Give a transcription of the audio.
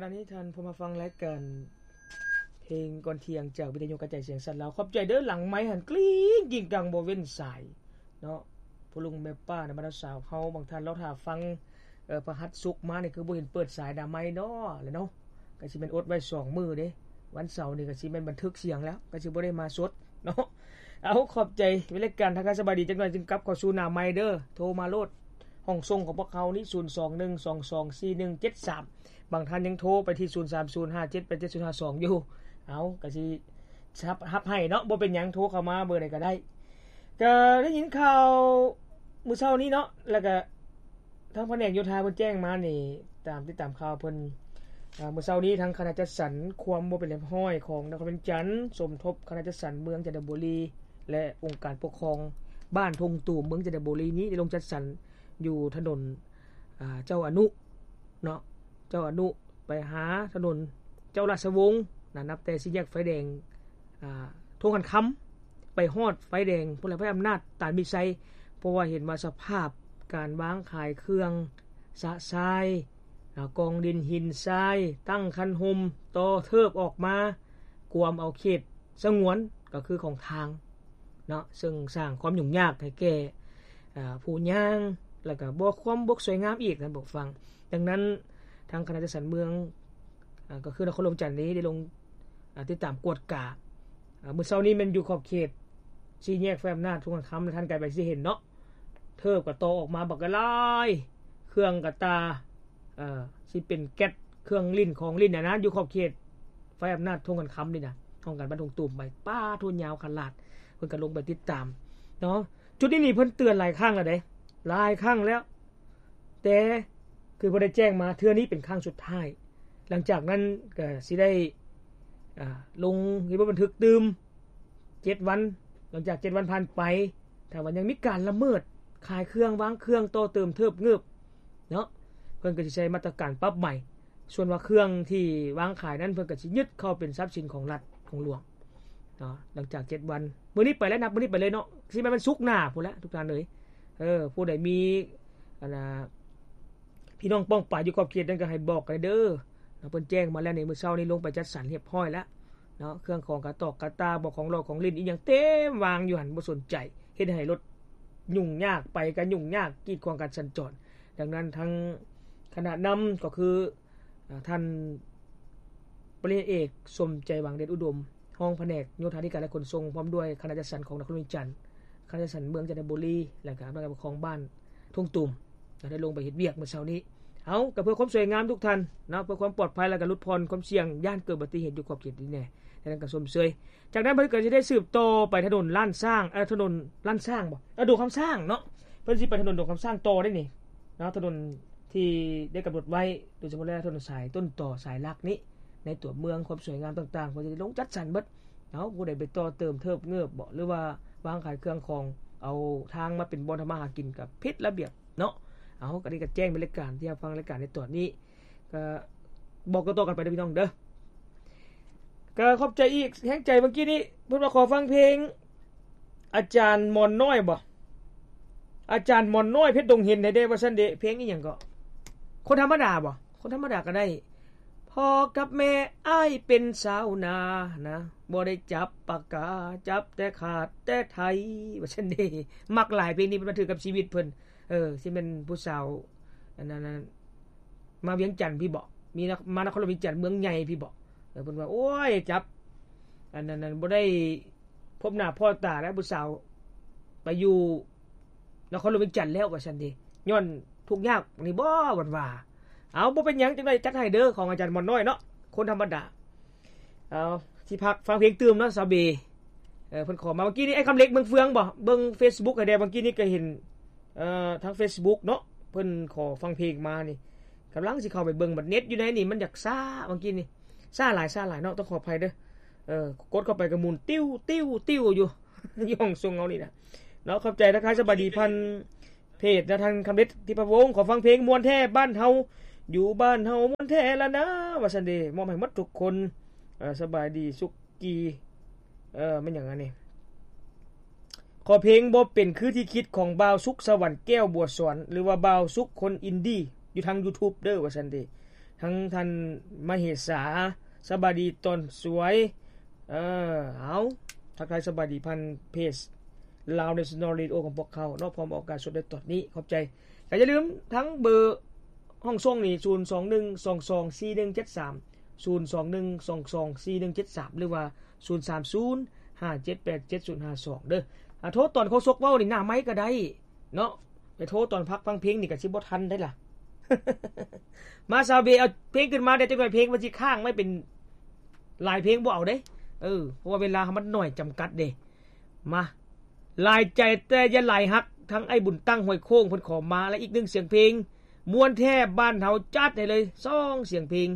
ຂະນະນີ້ທ່ານຜູ້ມາຟັງລາຍການເພງກ່ອນທ່ຽງຈາກວິທະຍຸກະຈາຍສຽງສັດລາວ. ຂອບໃຈເດີ ຫຼັງໄມຫັ້ນກຣິ້ງກິ້ງກັງບໍ່ເວັ້ນສາຍເນາະ. ພໍ່ລຸງແມ່ປ້ານະ ມາດາມສາວເຮົາ ບາງທ່ານລໍຖ້າຟັງ ເອີ ພະຫັດສຸກມານີ້ຄືບໍ່ເຫັນເປີດສາຍໜ້າໄມເນາະ ແຫຼະເນາະ. ກະຊິແມ່ນອົດໄວ້ສອງມື້ເດ້ ວັນເສົານີ້ກະຊິແມ່ນບັນທຶກສຽງແລ້ວ ກະຊິບໍ່ໄດ້ມາສົດເນາະ. ເອົາ ຂອບໃຈ ເວລາການທັກທາຍສະບາຍດີຈັກໜ່ອຍຈຶ່ງກັບເຂົ້າສູ່ໜ້າໄມເດີ. ໂທມາໂລດ ຫ້ອງສົ່ງຂອງພວກເຮົານີ້ ສູນສອງໜຶ່ງສອງສອງສີ່ໜຶ່ງເຈັດສາມ. ບາງທ່ານຍັງໂທໄປທີ່ ສູນສາມສູນຫ້າເຈັດແປດເຈັດສູນຫ້າສອງ ຢູ່. ເອົາ ກະຊິຮັບ ຮັບໃຫ້ເນາະ ບໍ່ເປັນຫຍັງ ໂທເຂົ້າມາເບີໃດກະໄດ້. ກະໄດ້ຍິນຂ່າວມື້ເຊົ້ານີ້ເນາະ ແລ້ວກະ ທາງພະແນກໂຍທາເພິ່ນແຈ້ງມານີ້ ຕາມ ຕິດຕາມຂ່າວເພິ່ນ ເອີ ມື້ເຊົ້ານີ້ທາງຄະນະຈັດສັນຄວາມບໍ່ເປັນລຽບຮ້ອຍຂອງນະຄອນວຽງຈັນ ສົມທົບຄະນະຈັດສັນເມືອງຈັນທະບູລີ ແລະ ອົງການປົກຄອງບ້ານທົ່ງຕູມເມືອງຈັນທະບູລີນີ້ ໄດ້ລົງຈັດສັນຢູ່ຖະໜົນ ອາ ເຈົ້າອະນຸເນາະ ເຈົ້າອະນຸໄປຫາຖະໜົນເຈົ້າລາຊະວົງນະ ນັບແຕ່ສີ່ແຍກໄຟແດງ ອ່າ ທົ່ງຂັນຄຳ ໄປຮອດໄຟແດງພຸ້ນແຫຼະ ໄຟອຳນາດຕານມີໄຊ ເພາະວ່າເຫັນວ່າສະພາບການວາງຂາຍເຄື່ອງຊະຊາຍ ອ່າ ກອງດິນຫີນຊາຍ ຕັ້ງຄັນຮົ່ມ ຕໍ່ເທີບອອກມາ ກວມເອົາເຂດສະຫງວນ ກໍຄືຂອງທາງເນາະ ເຊິ່ງສ້າງຄວາມຫຍຸ້ງຍາກໃຫ້ແກ່ ອ່າ ຜູ້ຍ່າງ ແລ້ວກໍບໍ່ຄວາມບໍ່ສວຍງາມອີກ ທ່ານຜູ້ຟັງ. ດັ່ງນັ້ນ ທາງຄະນະຈັດສັນເມືອງ ອ່າ ກໍຄືນະຄອນຫຼວງວຽງຈັນນີ້ໄດ້ລົງ ອ່າ ຕິດຕາມກວດກາ ອ່າ ມື້ເຊົ້ານີ້ແມ່ນຢູ່ຂອບເຂດສີ່ແຍກໄຟອຳນາດທົ່ງຂັນຄຳ ທ່ານໄກໄປຊິເຫັນເນາະ ເທີບກໍຕໍ່ອອກມາບັກຫຼາຍ ເຄື່ອງກະຕ່າ ເອີ ຊິເປັນແກັດ ເຄື່ອງຫຼິ້ນຂອງຫຼິ້ນນະນະ ຢູ່ຂອບເຂດໄຟອຳນາດທົ່ງຂັນຄຳນີ້ນະ ຫ້ອງການບ້ານທົ່ງຕູມໄປ ປາໂທ ຍາວຂະຫຼາດ ເພິ່ນກໍລົງໄປຕິດຕາມເນາະ. ຈຸດນີ້ນີ້ເພິ່ນເຕືອນຫຼາຍຄັ້ງແລ້ວເດ້ ຫຼາຍຄັ້ງແລ້ວ ແຕ່ຄືບໍ່ໄດ້ແຈ້ງມາ ເທື່ອນີ້ເປັນຄັ້ງສຸດທ້າຍ. ຫຼັງຈາກນັ້ນກໍຊິໄດ້ ອ່າ ລົງເຮັດບົດບັນທຶກຕື່ມເຈັດວັນ. ຫຼັງຈາກເຈັດວັນຜ່ານໄປ ຖ້າວ່າຍັງມີການລະເມີດ ຂາຍເຄື່ອງ ວາງເຄື່ອງ ຕໍ່ເຕີມ ເທີບເງີບເນາະ ເພິ່ນກໍຊິໃຊ້ມາດຕະການປັບໃໝ. ສ່ວນວ່າເຄື່ອງທີ່ວາງຂາຍນັ້ນ ເພິ່ນກໍຊິຍຶດເຂົ້າເປັນຊັບສິນຂອງລັດ ຂອງຫຼວງເນາະ. ຫຼັງຈາກເຈັດວັນ ມື້ນີ້ໄປແລ້ວ ນັບມື້ນີ້ໄປເລີຍເນາະ ຊິແມ່ນວັນສຸກໜ້າພຸ້ນແຫຼະ ທຸກທ່ານເອີຍ. ເອີ ຜູ້ໃດມີ ອັນນ່າ ພີ່ນ້ອງປ້ອງປາຍຢູ່ຂອບເຂດນັ້ນກໍໃຫ້ບອກກັນເດີເນາະ. ເພິ່ນແຈ້ງມາແລ້ວນີ້ ມື້ເຊົ້ານີ້ລົງໄປຈັດສັນຮຽບຮ້ອຍແລ້ວເນາະ. ເຄື່ອງຂອງກະຕອກກະຕາ ບໍ່ ຂອງຫຼອກຂອງຫຼິ້ນອີ່ຫຍັງເຕັມວາງຢູ່ຫັ້ນ ບໍ່ສົນໃຈ ເຮັດໃຫ້ລົດຫຍຸ້ງຍາກ ໄປກໍຫຍຸ້ງຍາກ ກີດຂວາງການສັນຈອນ. ດັ່ງນັ້ນ ທາງຄະນະນຳກໍຄື ອາ ທ່ານປະລິນຍາເອກ ສົມໃຈຫວັງເດດອຸດົມ ຮອງພະແນກໂຍທາທິການ ແລະ ຂົນສົ່ງ ພ້ອມດ້ວຍຄະນະຈັດສັນຂອງນະຄອນຫຼວງວຽງຈັນ, ຄະນະຈັດສັນເມືອງຈັນທະບູລີ ແລະ ກະອຳນາດການປົກຄອງບ້ານທົ່ງຕູມ ໄດ້ລົງໄປເຮັດວຽກມື້ເຊົ້ານີ້. ເອົາ ກໍເພື່ອຄວາມສວຍງາມທຸກທ່ານເນາະ, ເພື່ອຄວາມປອດໄພ ແລະ ກະຫຼຸດຜ່ອນຄວາມສ່ຽງ ຢ້ານເກີດອຸບັດຕິເຫດຢູ່ຂອບເຂດນີ້ແດ່. ດັ່ງນັ້ນກໍຊົມເຊີຍ. ຈາກນັ້ນເພິ່ນກໍຊິໄດ້ສືບຕໍ່ໄປຖະໜົນລ້ານຊ້າງ ເອີ ຖະໜົນລ້ານຊ້າງບໍ? ເອີ ດົງຄຳຊ້າງເນາະ. ເພິ່ນຊິໄປຖະໜົນດົງຄຳຊ້າງຕໍ່ໄດ໋ນີ້ເນາະ, ຖະໜົນທີ່ໄດ້ກຳນົດໄວ້ ໂດຍສະເພາະແລ້ວຖະໜົນສາຍຕົ້ນຕໍ ສາຍຫຼັກນີ້ ໃນຕົວເມືອງ ຄວາມສວຍງາມຕ່າງໆ ເພິ່ນຈະໄດ້ລົງຈັດສັນເບິດເນາະ. ຜູ້ໃດໄປຕໍ່ເຕີມເທີບເງີບບໍ ຫຼືວ່າວາງຂາຍເຄື່ອງຂອງ ເອົາທາງມາເປັນບ່ອນທຳມາຫາກິນ ກໍຜິດລະບຽບເນາະ. ເອົາ ກໍນີ້ກໍແຈ້ງເປັນລາຍການທີ່ຮັບຟັງລາຍການໃນຕອນນີ້ ກໍບອກຕໍ່ໆກັນໄປເດີພີ່ນ້ອງເດີ. ກໍຂອບໃຈອີກແຮງໃຈ ເມື່ອກີ້ນີ້ເພິ່ນວ່າຂໍຟັງເພງອາຈານໝອນນ້ອຍບໍ? ອາຈານໝອນນ້ອຍເພັດດົງເຫັນໃຫ້ແດ່ວ່າຊັ້ນເດ. ເພງອີ່ຫຍັງເກາະ? ຄົນທຳມະດາບໍ? ຄົນທຳມະດາກໍໄດ້. ພໍ່ກັບແມ່ອ້າຍເປັນຊາວນານະ, ບໍ່ໄດ້ຈັບປາກາ ຈັບແຕ່ຂາດແຕ່ໄຖ ວ່າຊັ້ນເດ. ມັກຫຼາຍເພງນີ້, ມັນຖືກັບຊີວິດເພິ່ນ. ເອີ ຊິແມ່ນຜູ້ສາວ ອັນນັ້ນ ມາວຽງຈັນພີ້ບໍ? ມີນະ ມານະຄອນຫຼວງວຽງຈັນເມືອງໃຫຍ່ພີ້ບໍ? ເອີ ເພິ່ນວ່າ ໂອ້ຍ ຈັບ ອັນນັ້ນ ອັນນັ້ນ ບໍ່ໄດ້ພົບໜ້າພໍ້ຕາແລ້ວ ຜູ້ສາວໄປຢູ່ນະຄອນຫຼວງວຽງຈັນແລ້ວ ວ່າຊັ້ນເດ. ຍ້ອນທຸກຍາກນີ້ບໍ ເພິ່ນວ່າ. ເອົາ ບໍ່ເປັນຫຍັງ, ຈັ່ງໃດຈັດໃຫ້ເດີ ຂອງອາຈານໝອນນ້ອຍເນາະ, ຄົນທຳມະດາ. ເອົາ ຊິພັກຟັງເພງຕື່ມເນາະ ສາວເບ. ເອີ ເພິ່ນຂໍມາ ເມື່ອກີ້ນີ້ ໄອ້ຄຳເລັກເມືອງເຟືອງບໍ? ເບິ່ງເຟສບຸກໃຫ້ແດ່. ເມື່ອກີ້ນີ້ກໍເຫັນ ເອີ ທາງເຟສບຸກເນາະ ເພິ່ນຂໍຟັງເພງມານີ້ ກຳລັງຊິເຂົ້າໄປເບິ່ງ ບັດເນັດຢູ່ໃນນີ້ມັນຢາກຊ້າ. ເມື່ອກີ້ນີ້ຊ້າຫຼາຍ ຊ້າຫຼາຍເນາະ, ຕ້ອງຂໍອະໄພເດີ. ເອີ ກົດເຂົ້າໄປກໍໝູນຕິວໆໆຢູ່ ຢູ່ຫ້ອງສົ່ງເຮົານີ້ນະເນາະ. ຂອບໃຈ ທັກທາຍສະບາຍດີຜ່ານເພຈນະ ທ່ານຄຳເລັດ ທິບພະວົງ. ຂໍຟັງເພງມ່ວນແທ້ບ້ານເຮົາ ຢູ່ບ້ານເຮົາມ່ວນແທ້ລະນາ ວ່າຊັ້ນເດ. ມອບໃຫ້ໝົດທຸກຄົນ. ເອີ ສະບາຍດີ ສຸກ ກີ ເອີ ແມ່ນຫຍັງອັນນີ້? ຂໍເພງບໍ່ເປັນຄືທີ່ຄິດຂອງບ່າວສຸກ ສະຫວັນແກ້ວ ບົວສອນ ຫຼືວ່າບ່າວສຸກຄົນອິນດີ ຢູ່ທາງຢູທູບເດີ ວ່າຊັ້ນເດ. ທັງທ່ານມະເຫສາ ສະບາຍດີຕອນສວຍ. ເອີ ເອົາ ທັກທາຍສະບາຍດີຜ່ານເພຈ Lao National Radio ຂອງພວກເຂົາເນາະ ພ້ອມອອກອາກາດສົດໃນຕອນນີ້ ຂອບໃຈ. ກໍຢ່າລືມທັງເບີຫ້ອງສົ່ງນີ້ ສູນສອງໜຶ່ງສອງສອງສີ່ໜຶ່ງເຈັດສາມ ສູນສອງໜຶ່ງສອງສອງສີ່ໜຶ່ງເຈັດສາມ ຫຼືວ່າ ສູນສາມສູນຫ້າເຈັດແປດເຈັດສູນຫ້າສອງ ເດີ. ອາ ໂທຕອນໂຄສົກເວົ້ານີ້ໜ້າໄມກໍໄດ້ເນາະ ໄປໂທຕອນພັກຟັງເພງນີ້ກໍຊິບໍ່ທັນໄດ໋ລະ. ມາ ຊາວເບ ເອົາເພງຂຶ້ນມາແດ່ຈັກໜ່ອຍ ເພງມັນຊິຄ້າງໄວ້ເປັນຫຼາຍເພງບໍ່ເອົາເດ້. ເອີ ເພາະວ່າເວລາເຮົາມັນໜ້ອຍຈຳກັດເດ້. ມາ ຫຼາຍໃຈແຕ່ຢ່າຫຼາຍຮັກ ທັງອ້າຍບຸນຕັ້ງຫ້ວຍໂຄ້ງເພິ່ນຂໍມາ ແລະ ອີກໜຶ່ງສຽງເພງ ມ່ວນແທ້ບ້ານເຮົາ ຈັດໃຫ້ເລີຍສອງສຽງເພງ.